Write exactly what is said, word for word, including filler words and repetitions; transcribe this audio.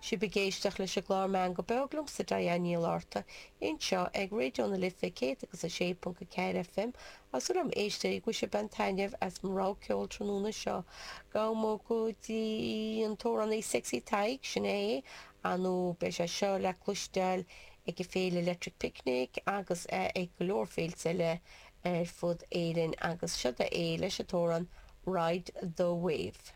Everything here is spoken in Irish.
Sibh ag éisteacht leis an gclár Meangadh Beo liomsa Diane Ní Fhlatharta anseo ag Raidió na Life céad agus a sé ponc a ceathair FM Tá súil agam a éisteoirí go bhfuil sibh ag baint taitneamh as mo rogha ceoil tráthnóna seo. Gabhfaidh muid go dtí an t-amhránaí Sexy Tadhg sin é nó beidh sé seo le cloisteáil ag an féile Electric Picnic agus ag go leor féilte eile ar fud Éirinn agus seo é leis an t-amhrán Ride the Wave.